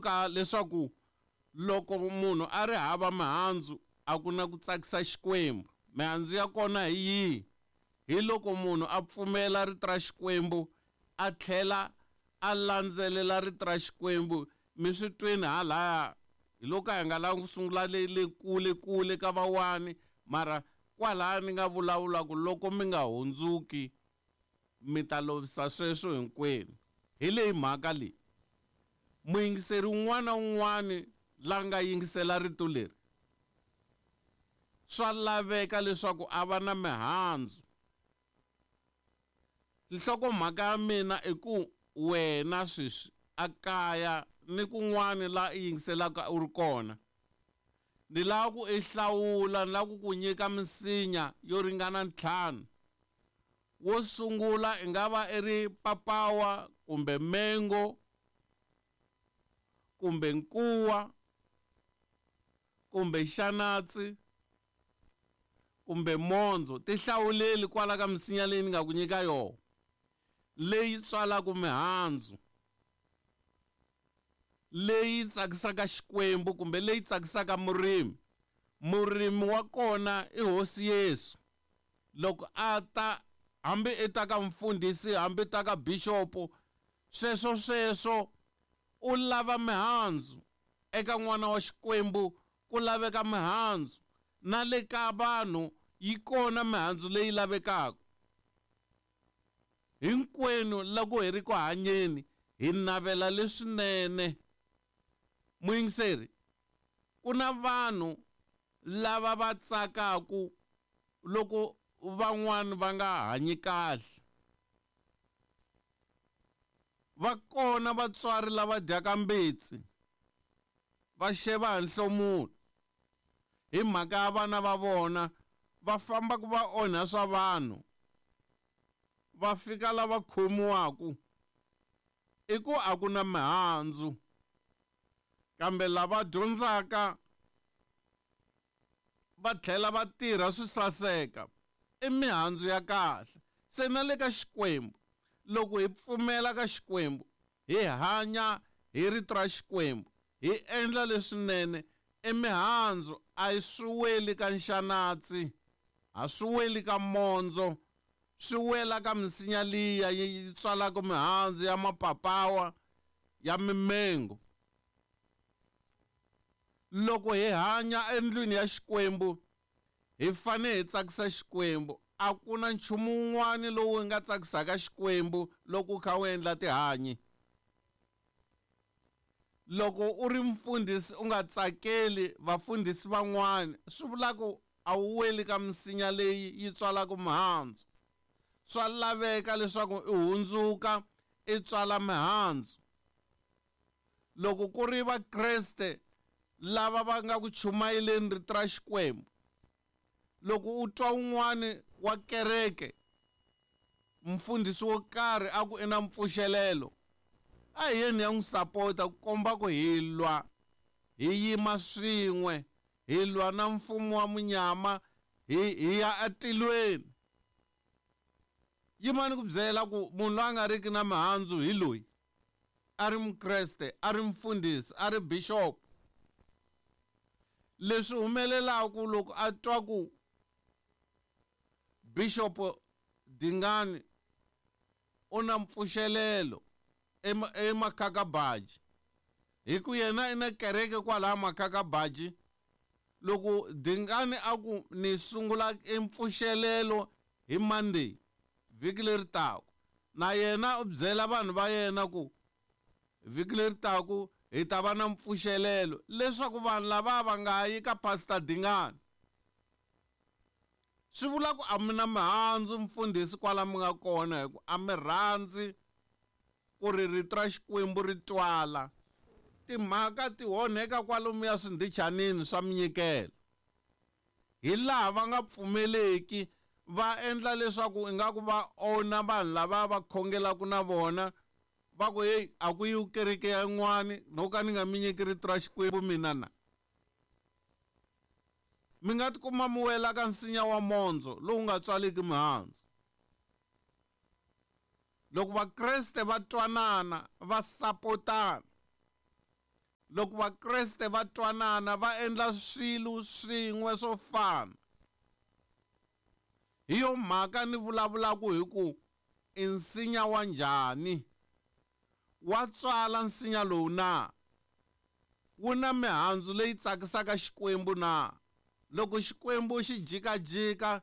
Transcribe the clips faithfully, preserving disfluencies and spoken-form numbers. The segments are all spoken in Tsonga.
Ka leswaku loko munhu a ri hava mihandzu a ku na ku tsakisa Xikwembu. Mihandzu ya kona hi yihi? Hi loko munhu a pfumela rito ra Xikwembu a tlhela a landzelela rito ra Xikwembu. Mi swi twini halaya, hi loko a hi nga lavi ku sungula le le kule kule ka vawani, mara kwalaya ni nga vulavula ku loko mi nga hundzuki mi ta lovisa sweswo hinkwenu. Hi leyi mhaka leyi, muyingiseri un'wana na un'wana la nga yingisela rito leri, swa laveka leswaku a va na mihandzu. Nhlokomhaka ya mina i ku wena sweswi a kaya ni kun'wana la i yingiselaka u ri kona, ni lava ku i hlawula, ni lava ku ku nyika misinya yo ringana ntlhanu. Wo sungula i nga va i ri papawa kumbe mengo kumbe nkuwa kumbe xanatsi kumbe mondzo. Ti hlawuleli kwala ka misinya leyi ni nga ku nyika yona, leyi tswalaka mihandzu, leyi tsakisaka Xikwembu kumbe leyi tsakisaka murimi. Murimi wa kona i Hosi Yesu. Loko a ta, hambi i ta ka mfundhisi, hambi ta ka bishopo, sweswo sweswo u lava mihandzu. Eka n'wana wa Xikwembu ku laveka mihandzu, na le ka vanhu yi kona mihandzu leyi lavekaka. Hinkwenu loko hi ri ku hanyeni hi navela leswinene. Muyingiseri, ku na vanhu lava va tsakaku loko van'wani va nga hanyi kahle. Va kona vatswari lava dyaka mbitsi va xeva hi nhlomulo hi mhaka ya vana va vona, va famba ku va onha swa vanhu, va fika lava khomiwaku i ku a ku na mihandzu. Kambe lava dyondzaka va tlhela va tirha swi saseka i mihandzu ya kahle. Se na le ka Xikwembu, loko hi pfumela ka Xikwembu, hi hanya hi rito ra Xikwembu, hi endla leswinene, i mihandzu. A yi swi weli ka nxanatsi, a swi weli ka mondzo, swi wela ka misinya liya yi tswalaka mihandzu ya mapapawa, ya mimengo. Loko hi hanya endlwini ya Xikwembu, hi fanele hi tsakisa Xikwembu. A ku na nchumu wun'wana lowu nga tsakisaka Xikwembu loko u kha u endla tihanyi. Loko u ri mfundhisi u nga tsakeli vafundhisi van'wana, swi vula ku a wu weli ka misinya leyi yi tswalaka mihandzu. Swa laveka leswaku u hundzuka i tswala mihandzu. Loko ku ri Vakreste lava va nga ku chumayeleni rito ra Xikwembu, loko u twa un'wani wa kereke, mfundhisi wo karhi a ku i na mpfuxelelo, a hi yeni ya n'wi sapota ku komba ku hi lwa, hi yima swin'we, hi lwa na mfumo wa munyama, hi, hi ya etilweni. Yimani ku byela ku munhu loyi a nga riki na mihandzu hi loyi, a ri Mukreste, a ri mfundhisi, a ri bishop. Leswi humelelaka loko a twa ku Bishop Dingani u na mpfuxelelo eMakhakabaji, hi ku yena i na kereke kwalaya Makhakabaji, loko Dingani a ku ni sungula empfuxelelo hi Monday vhiki leri taka, na yena u byela vanhu va yena ku vhiki leri taka hi ta va na mpfuxelelo, leswaku vanhu lava va nga yi ka Pastor Dingani. Swi vula ku a mi na mihandzu mfundhisi kwala mi nga kona, hi ku a mi rhandzi ku ri rito ra Xikwembu ri twala. Timhaka ti onheka kwalomuya swindhichanini swa minyikelo, hi laha va nga pfumeleki, va endla leswaku ingaku va onha vanhu lava va khongelaka na vona, va ku hey, a ku yiwi kereke ya yin'wani, no ka ni nga mi nyiki rito ra Xikwembu mina na. Mi nga tikuma mi wela ka nsinya wa mondzo lowu nga tswaliki mihandzu. Loko Vakreste va twanana, va sapotana, Loko Vakreste va twanana va endla swilo swin'we swo fana. Hi yo mhaka ni vulavulaka hi ku i nsinya wa njhani, wa tswala nsinya lowu na, wu na mihandzu leyi tsakisaka Xikwembu na. Loko Xikwembu xi jikajika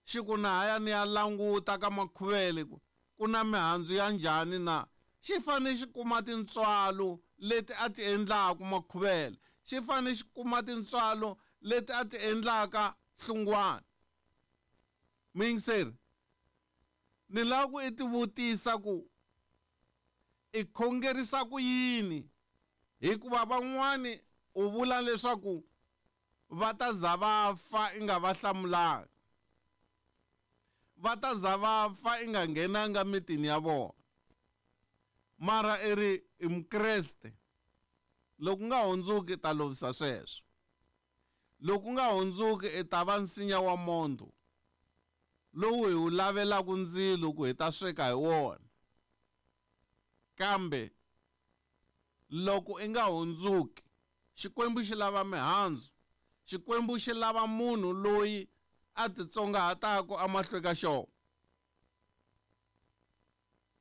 xi ku na haya ni ya languta ka makhuvele ku ku na mihandzu ya njhani na, xi fanele xi kuma tintswalo leti a ti endlaka makhuvele, xi fanele xi kuma tintswalo leti a ti endlaka hlungwana. Muyingiseri, ni lava ku i tivutisa ku i khongerisa ku yini, hikuva van'wani u vula leswaku va ta za va fa i nga va hlamulanga, va ta za va fa i nga nghenanga mitini ya vona. Mara i ri i Mukreste, loko nga hundzuki ta lovisa sweswo, loko nga hundzuki i ta va nsinya wa mondho lowu hi wu lavelaka ndzilo ku hi ta sweka hi wona. Kambe loko i nga hundzuki, Xikwembu xi lava mihandzu, Xikwembu xi lava munhu loyi a titsongahataka emahlweni ka xona.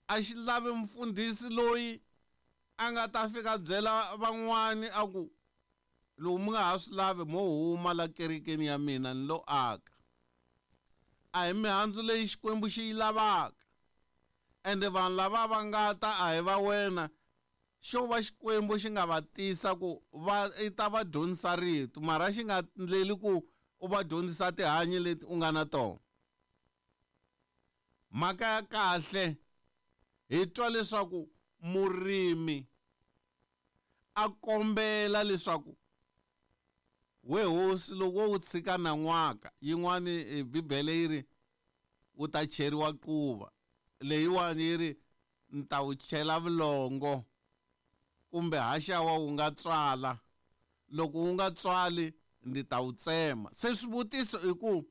A xi lavi mfundhisi loyi a nga ta fika byela van'wani a ku loko mi nga ha swi lavi mo huma la kerekeni ya mina ni lo aka. A hi mihandzu leyi Xikwembu xi yi lavaka. Ende vanhu lava va nga ta a hi va wena, xo va Xikwembu xi nga va tisa ku va i ta va dyondzisa rito, mara xi nga ndleli ku u va dyondzisa tihanyi leti u nga na tona. Mhaka ya kahle hi twa leswaku murimi a kombela leswaku we hosi loko wo tshika nan'waka, yin'wani Bibele yi ri wu ta cheriwa quva, leyiwani yi ri ni ta wu chela vulongo kumbe haxawa wu nga tswala, loko wu nga tswali ndzi ta wu tsema. Se swivutiso i ku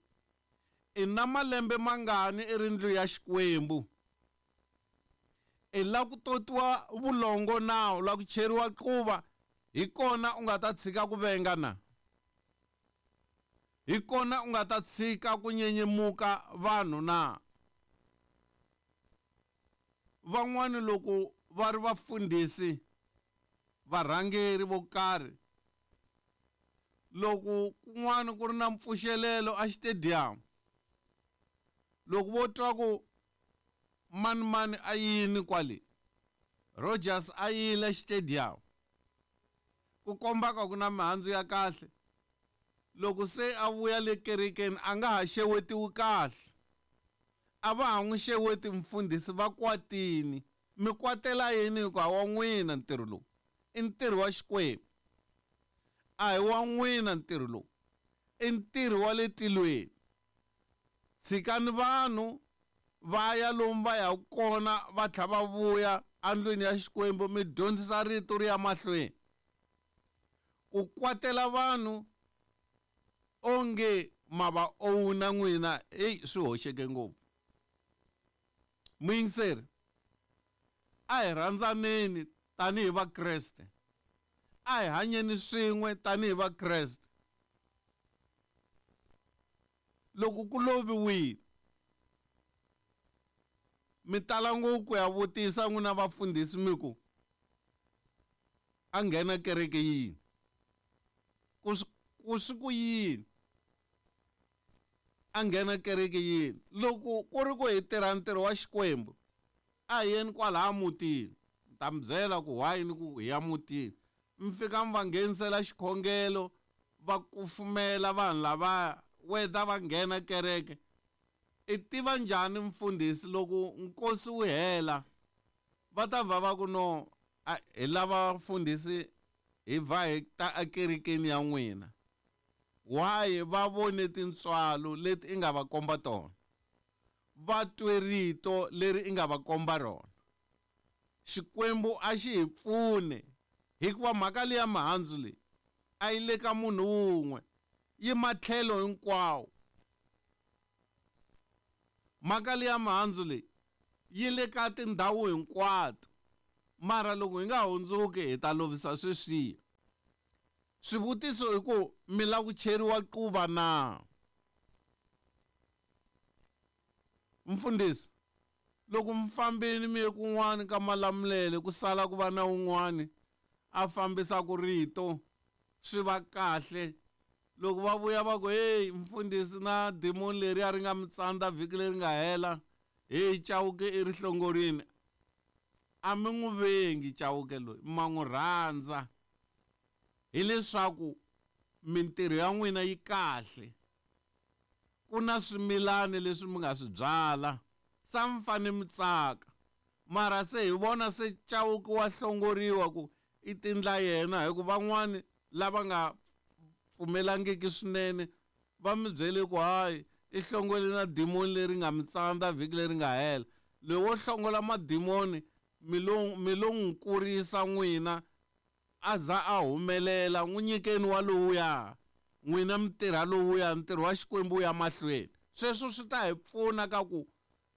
i na malembe mangani i ri ndlu ya Xikwembu, i la ku totiwa vulongo na u la ku cheriwa quva, hi kona u nga ta tshika ku venga na, hi kona u nga ta tshika ku nyenyemuka vanhu na. Van'wani loko va ri vafundhisi varhangeri vo karhi, loko kun'wana ku ri na mpfuxelelo a xitediyamu, loko vo twa ku mani mani a yini kwale, Rogers a yile xitediyamu, ku komba ka ku na mihandzu ya kahle, loko se a vuya le kerekeni a nga ha xewetiwi kahle, a va ha n'wi xeweti mfundhisi va kwatini. Mi kwatela yini? Hikuva wa n'wina ntirho lowu i ntirho wa Xikwembu, a hi wa n'wina ntirho lowu, i ntirho wa le tilweni. Tshikani vanhu va ya lomu va yaka kona, va tlhela va vuya endlwini ya Xikwembu, mi dyondzisa rito ri ya mahlweni. Ku kwatela vanhu onge ma va owuna n'wina, heyi swi hoxeke ngopfu. Muyingiseri, a hi rhandzaneni tanihi Vakreste, a hi hanyeni swin'we tanihi Vakreste. Loko ku loviwile, mi tala ngopfu ku ya vutisa n'wina vafundhisi mi ku a nghena kereke yini, ku ku swi ku yini a nghena kereke yini. Loko ku ri ku hi tirha ntirho wa Xikwembu, a hi yeni kwalaya mutini, ni ta mi byela ku why ni ku hi ya mutini. Mi fika mi va nghenisela xikhongelo, va kufumela vanhu lavaya, whether va nghena kereke. I tiva njhani mfundhisi loko nkosi wu hela va ta va va ku no hi lava mfundhisi hi va hi ta ekerekeni ya n'wina? Why va vone tintswalo leti i nga va komba tona, va twe rito leri i nga va komba rona. Xikwembu a xi hi pfune, hikuva mhaka leya mihandzu leyi a yi le ka munhu wun'we, yi matlhelo hinkwawo. Mhaka leya mihandzu leyi yi le ka tindhawu hinkwato, mara loko hi nga hundzuki hi ta lovisa sweswiya. Swivutiso i ku mi lava ku cheriwa quva na? Mfundhisi, loko mi fambile mi ye kun'wani ka Malamulele ku sala ku va na un'wani a fambisaka rito swi va kahle. Loko va vuya va ku hey mfundhisi na demon leri a ri nga mi tsandza vhiki leri nga hela, hey Chauke i ri hlongorini. A mi n'wi vengi Chauke loyi, ma n'wi rhandza hileswaku mintirho ya n'wina yi kahle. Ku na swimilani leswi mi nga swi byala, sa mi fanele mi tsaka. Mara se hi vona se Chauke wa hlongoriwa ku i tindla yena, hikuva van'wani lava nga pfumelangiki swinene va mi byele ku hayi i hlongole na demon leri nga mi tsandza vhiki leri nga hela. Loyi wo hlongola mademoni mi lo mi lo n'wi kurisa n'wina a za a humelela, n'wi nyikeni wa lowuya, n'wina mi tirha lowuya, ntirho wa Xikwembu wu ya mahlweni. Sweswo swi ta hi pfuna ka ku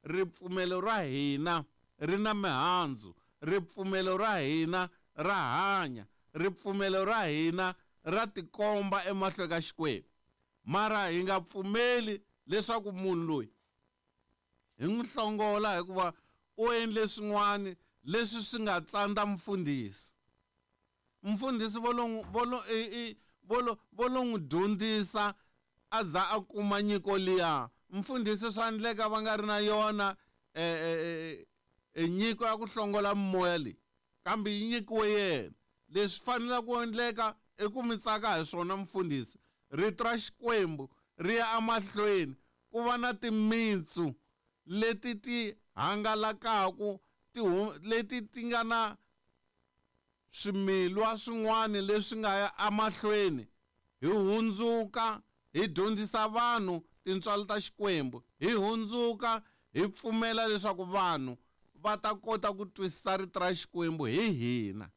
ripfumelo ra hina ri na mihandzu, ripfumelo ra hina ra hanya, ripfumelo ra hina ra tikomba emahlweni ka Xikwembu. Mara hi nga pfumeli leswaku munhu loyi hi n'wi hlongola hikuva u endle swin'wana leswi swi nga tsandza mfundhisi. Mfundhisi vo lo vo lo i vo lo vo lo n'wi dyondzisa a za a kuma nyiko liya. Mfundhisi swa endleka va nga ri na yona e e nyiko ya ku hlongola mimoya leyi, kambe yi nyikiwe yena. Leswi faneleke ku endleka i ku mi tsaka hi swona mfundhisi. Rito ra Xikwembu ri ya emahlweni ku va na timitsu leti ti hangalakaku, ti leti ti nga na swimilwa swin'wana leswi nga ya emahlweni. Hi hundzuka hi dyondzisa vanhu tintswalo ta Xikwembu, hi hundzuka hi pfumela leswaku vanhu va ta kota ku twisisa rito ra Xikwembu hi hina.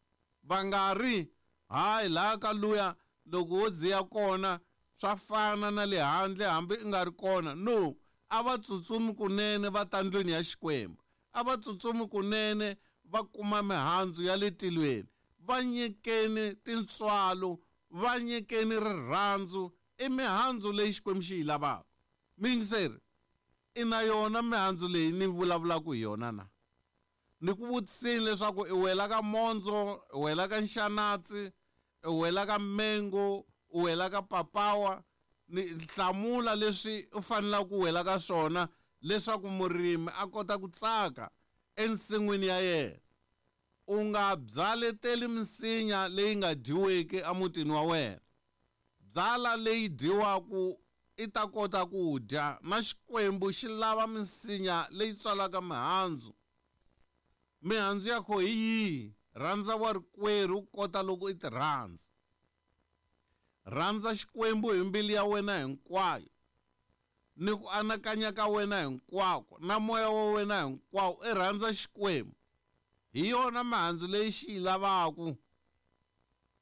Va nga ri hayi laha ka luya loko wo dziya kona swa fana na le handle hambi i nga ri kona. No, a va tsutsumi kunene va ta ndlwini ya Xikwembu, a va tsutsumi kunene va kuma mihandzu ya le tilweni. Va nyikeni tintswalo, va nyikeni rirhandzu, i mihandzu leyi Xikwembu xi yi lavaka. Miyingiseri, i na yona mihandzu leyi ni vulavulaka hi yona na? Ni ku vutiseni leswaku i wela ka mondzo, i wela ka nxanatsi, i wela ka mengo, u wela ka papawa. Ni hlamula leswi u fanelaka ku wela ka swona leswaku murimi a kota ku tsaka ensin'wini ya yena. U nga byaleteli misinya leyi nga dyiweki emutini wa wena. Byala leyi dyiwaka i ta kota ku dya, na Xikwembu xi lava misinya leyi tswalaka mihandzu. Mihandzu ya kho hi yihi? Rhandza wa rikwerhu kota loko i ti rhandza. Rhandza Xikwembu hi mbilu ya wena hinkwayo, ni ku anakanya ka wena hinkwako, na moya wa wena hinkwawo. I rhandza Xikwembu, hi yona mihandzu leyi xi yi lavaka.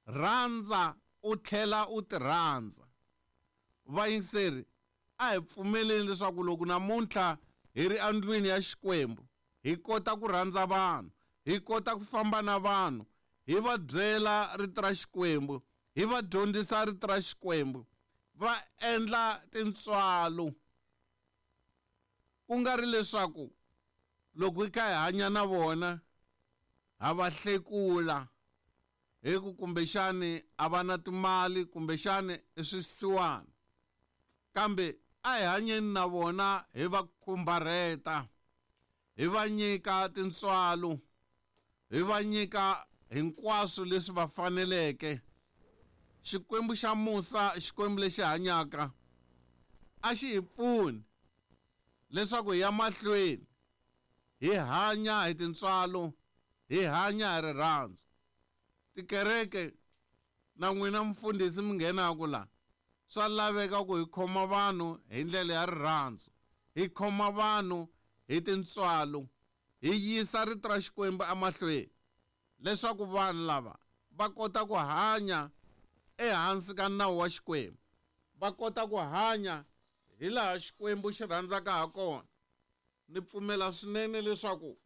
Rhandza u tlhela u ti rhandza. Vayingiseri, a hi pfumeleni leswaku loko namuntlha hi ri endlwini ya Xikwembu hi kota ku rhandza vanhu, hi kota ku famba na vanhu, hi va byela rito ra Xikwembu, hi va dyondzisa rito ra Xikwembu, va endla tintswalo. Ku nga ri leswaku loko hi kha hi hanya na vona ha va hlekula hi ku kumbexani a va na timali, kumbexani i swisiwana, kambe a hi hanyeni na vona hi va khumbarheta, hi va nyika tintswalo, hi va nyika hinkwaswo leswi va faneleke. Xikwembu xa musa, Xikwembu lexi hanyaka, a xi hi pfuni leswaku hi ya mahlweni hi hanya hi tintswalo, hi hanya hi rirhandzu. Tikereke na n'wina mfundhisi mi nghenaka la, swa laveka ku hi khoma vanhu hi ndlela ya rirhandzu, hi khoma vanhu hi tintswalo, hi yisa rito ra Xikwembu emahlweni leswaku vanhu lava va kota ku hanya ehansi ka nawu wa Xikwembu, va kota ku hanya hi laha Xikwembu xi rhandzaka ha kona. Ni pfumela swinene leswaku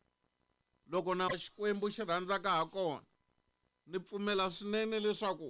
loko na Xikwembu xi rhandzaka ha kona, ni pfumela swinene leswaku